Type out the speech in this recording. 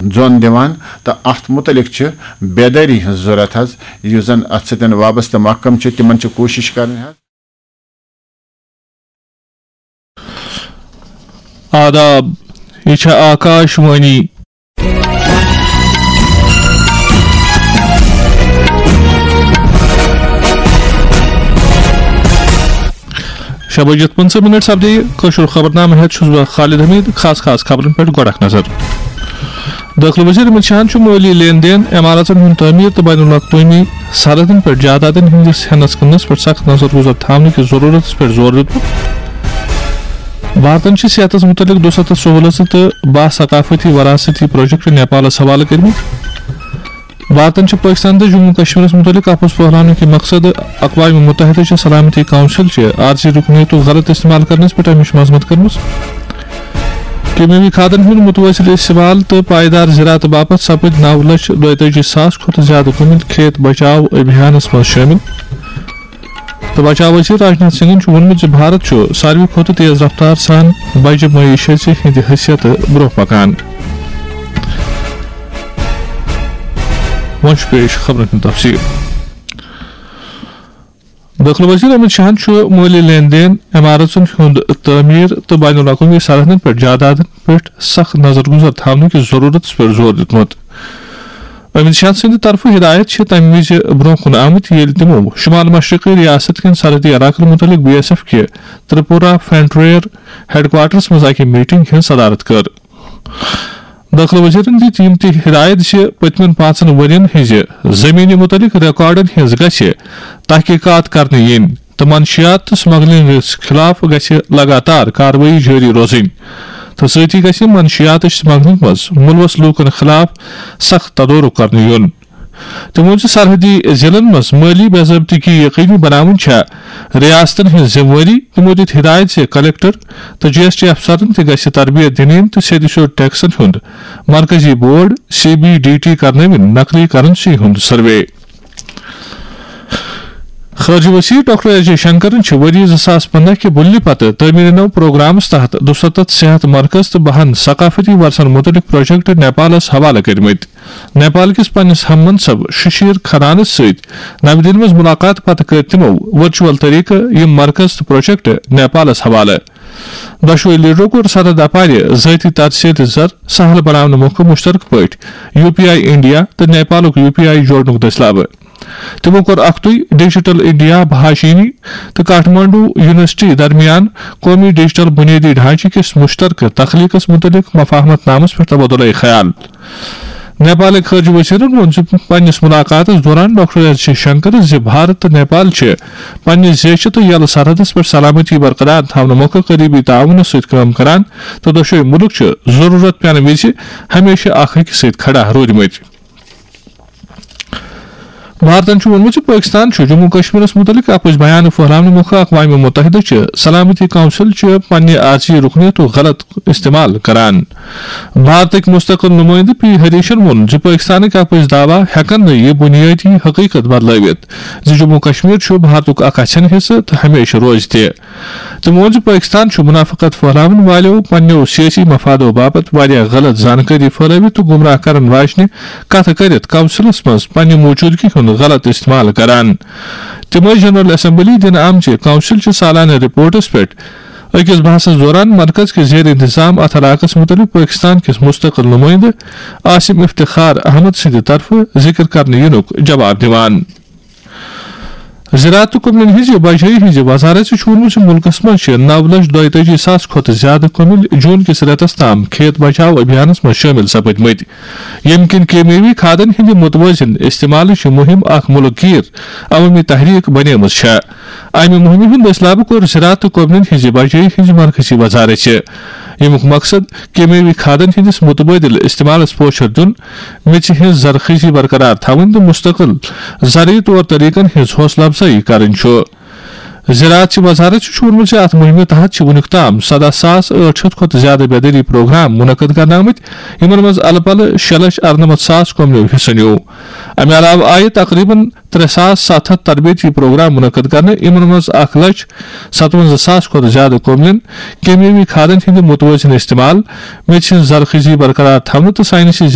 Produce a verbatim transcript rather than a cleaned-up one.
زۄن دِوان، تہٕ اتھ متعلق چھِ بیدٲری ہٕنٛز ضرورت حظ۔ یُس زن اتھ سۭتۍ وابستہٕ محکمہٕ چھِ، تِمن چھِ کوٗشش کرٕنۍ حظ۔ آداب، یہِ چھےٚ آکاش وانی۔ شےٚ بجے پٕنٛژٕہ منٹ سپدے کٲشُر خبرنامہٕ ہٮ۪تھ چھُس بہٕ خالد حمید۔ خاص خاص خبرن پٮ۪ٹھ گۄڈٕ اکھ نظر۔ دٲخلہٕ وزیر امت شاہن چھُ مٲلی لین دین، عمارژن ہُنٛد تعمیٖر تہٕ بین الاقوٲمی سرحدن پٮ۪ٹھ جائیدادن ہٕنٛدِس ہٮ۪نس کٕننس پٮ۪ٹھ سخت نظر گُزر تھاونہٕ کِس ضروٗرتس پٮ۪ٹھ زور دیُتمُت۔ بھارتن چھِ صحتس مُتعلق دُسَتتھ سہوٗلژٕ تہٕ باہ ثقافتی وراثتی پروجیکٹ نیپالس حوالہٕ کٔرمٕتۍ۔ بھارتن چھِ پٲکستان تہٕ جموں کشمیرس مُتعلق اپُز پھٔہلاونہٕ کہِ مقصد اقوام متحدہ چہِ سلامتی کونسل چہِ عارضی رُکنیتُک غلط استعمال کرنس پٮ۪ٹھ امِچ مذمت کٔرمٕژ۔ کیمیاوی کھادن ہُنٛد متوازن استعمال تہٕ پائیدار زراعت باپتھ سپٕدۍ نو لچھ دۄیتٲجی ساس کھۄتہٕ زیادٕ کُمِل کھیت بچاو ابھیانس منٛز شٲمِل۔ تہٕ بچاو وزیر راجناتھ سنگھن چھُ ووٚنمُت زِ بھارت چھُ ساروی کھۄتہٕ تیز رفتار سان بجہِ معیشت ہٕنٛدِ حیثیتہٕ برٛونٛہہ پکان۔ وۄنۍ چھُ پیش خبرن ہُنٛد تفصیل۔ دٲخلہٕ وزیر امت شاہن چھُ مٲلی لین دین، عمارژن ہُنٛد تعمیٖر تہٕ بین الاقوٲمی سرحدن پٮ۪ٹھ جائیدادن پٮ۪ٹھ سخت نظر گُزر تھاونہٕ کِس ضروٗرتس پٮ۪ٹھ زور دیُتمُت۔ امت شاہ سٕنٛدِ طرفہٕ ہدایت چھِ تَمہِ وِزِ برٛونٛہہ کُن آمٕتۍ، ییٚلہِ تِمو شمال مشرقی ریاست کٮ۪ن سرحدی علاقن مُتعلق بی ایس ایف کہِ ترپورہ فرنٹیئر ہیڈ کوارٹرس منٛز اکہِ میٹنگ ہٕنٛز صدارت کٔر۔ دٲخلہٕ وزیرن دِتۍ یِم تہِ ہدایت زِ پٔتمٮ۪ن پانٛژن ؤرین ہٕنٛزِ زٔمیٖنہِ مُتعلق ریکارڈن ہٕنٛز گژھِ تحقیقات کرنہٕ یِنۍ تہٕ منشیات تہٕ سمگلنگس خلاف گژھِ لگاتار کاروٲیی جٲری روزٕنۍ تہٕ سۭتی گژھِ منشیات تہٕ سمگلنگ منٛز ملوث لوٗکن خلاف سخت تدورُک کرنہٕ یُن۔ تِمو ووٚن زِ سرحدی ضلعن منٛز مٲلی بے ضٲبطگی یقینی بناوٕنۍ چھےٚ ریاستن ہٕنٛز ذمہٕ وٲری۔ تِمو دِتۍ ہدایت زِ کلکٹر تہٕ جی ایس ٹی افسرن تہِ گژھِ تربیت دِنہٕ یِنۍ تہٕ سیٚدِ سیوٚد ٹیکسن ہُنٛد مرکزی board, C B D T, کرنٲوِن نقلی کرنسی ہُنٛد سروے۔ خارجہ وزیر ڈاکٹر ایس جے شنکرن چھِ ؤری زٕ ساس پنٛداہ کہِ بُلہِ پتہٕ تعمیٖر نو پروگرامس تحت دُسَتتھ صحت مرکز تہٕ بہن ثقافتی ورثن مُتعلق پروجیکٹ نیپالس حوالہٕ کٔرمٕتۍ۔ نیپال کِس پننِس ہم منصب ششیر کھنانس سۭتۍ نَوِ دِلہِ منٛز مُلاقات پتہٕ کٔرۍ تِمو ورچوئل طریقہٕ یِم مرکز تہٕ پروجیکٹ نیپالس حوالہٕ۔ دۄشوے لیڈرو کوٚر سرحد اپارِ ذٲتی ترسیل زر سہل بناونہٕ مۄکھٕ مشترکہٕ پٲٹھۍ یو پی آئی انڈیا تہٕ نیپالُک یو پی آئی جوڑنُک دٔسلابہٕ۔ تِمو کوٚر اکھتُے ڈیجیٹل انڈیا بھاشینی تہٕ کاٹھمانڈو یونیورسٹی درمیان قومی ڈیجیٹل بنیٲدی ڈھانچہٕ کِس مشترکہٕ تخلیقس مُتعلق مفاہمت نامس پٮ۪ٹھ تبادلہ خیال۔ نیپالٕکۍ خارجہ وزیرن ووٚن زِ پننِس ملاقاتس دوران ڈاکٹر ایس جے شنکرن زِ بھارت تہٕ نیپال چھِ پننِس زیچھِ تہٕ یلہٕ سرحدس پٮ۪ٹھ سلامتی برقرار تھاونہٕ مۄکھٕ قریبی تعاونس سۭتۍ کٲم کران تہٕ دۄشوے مُلک چھِ ضروٗرت پٮ۪نہٕ وِزِ ہمیشہٕ اکھ أکِس سۭتۍ کھڑا روٗدمٕتۍ۔ بھارتن چھُ ووٚنمُت زِ پٲکِستان چھُ جموں کشمیرس مُتعلِق اپُز بیان پھٔہلاونہٕ مۄکھٕ اقوام متحدہ چہِ سلامتی کونسل چہِ پننہِ عارضی رُکنیتُک غلط استعمال کران۔ بھارتٕکۍ مستقل نُمٲیندٕ پی ہریشن ووٚن زِ پٲکِستانٕکۍ اپُز دعویٰ ہٮ۪کن نہٕ یہِ بُنیٲدی حقیقت بدلٲوِتھ زِ جموں کشمیر چھُ بھارتُک اکھ اَژھٮ۪ن حصہٕ تہٕ ہمیشہٕ روزِ تہِ۔ تٔمۍ ووٚن زِ پٲکِستان چھُ منافقت پھٔہلاون والٮ۪و پننٮ۪و سیٲسی مفادو باپتھ واریاہ غلط زانکٲری پھٔہلٲوِتھ تہٕ گمراہ کرن واجنہِ کتھٕ کٔرِتھ کونسلس منٛز پننہِ موجودگی ہُنٛد غلط استعمال کران۔ تِم ٲسۍ جنرل اسمبلی دِنہٕ آمژِ کونسل چہِ سالانہٕ رپورٹس پٮ۪ٹھ أکِس بحثس دوران مرکز کِس زیر انتظام اتھ علاقس مُتعلق پٲکِستان کِس مستقل نُمٲیندٕ عاصم افتخار احمد سٕنٛدِ طرفہٕ ذِکر کرنہٕ یِنُک جواب دِوان۔ زراعت تہٕ کُملٮ۪ن ہٕنٛزِ بجٲیی ہٕنٛزِ وزارت چھُ ووٚنمُت زِ مُلکَس منٛز چھِ نَو لچھ دۄیتٲجی ساس کھۄتہٕ زِیٛادٕ کُمِل جوٗن کِس رٮ۪تَس تام کھیت بچاو ابھیانَس منٛز شٲمِل سپٕدمٕتۍ، ییٚمہِ کِنۍ کیمیاوی کھادَن ہٕنٛدِ مُتوٲزِن استعمالٕچ یہِ مُہِم اکھ مُلک گیر عوٲمی تحریک بنیمٕژ چھےٚ۔ اَمہِ مُہِمہِ ہُنٛد دٔسلابہٕ کوٚر زراعت تہٕ کُملٮ۪ن ہٕنٛزِ بجٲیی ہٕنٛزِ مرکزی وزارت چھِ۔ ییٚمیُک مقصد کیمیاوی کھادَن ہٕنٛدِس مُتبٲدِل استعمالَس پوچھر دیُن، میٚژِ ہٕنٛز زرخیزی برقرار تھاوٕنۍ تہٕ مستقل زرعی طور طریقن ہٕنٛز حوصلہٕ افزٲیی کرٕنۍ چھُ۔ زراعت چہِ وزارت چھُ ووٚنمُت زِ اَتھ مُہِمہِ تحت چھِ وُنیُک تام سَداہ ساس ٲٹھ شیٚتھ کھۄتہٕ زِیٛادٕ بیدٲری پروگرام منعقد کرنہٕ آمٕتۍ، یِمن منٛز الہٕ پلہٕ شےٚ لچھ اَرنَمَتھ ساس کُملیو حصہٕ نیوٗ۔ اَمہِ علاوٕ آیہِ تقریباً ترٛےٚ ساس ستھ ہتھ تربیتی پروگرام منعقد کرنہٕ، یِمن منٛز اکھ لچھ ستوَنزاہ ساس کھۄتہٕ زِیٛادٕ کُملٮ۪ن کیمیٲوی کھادن ہٕنٛدِ مُتوٲزِن استعمال، میٚژِ ہٕنٛز زرخیزی برقرار تھاونہٕ تہٕ ساینسی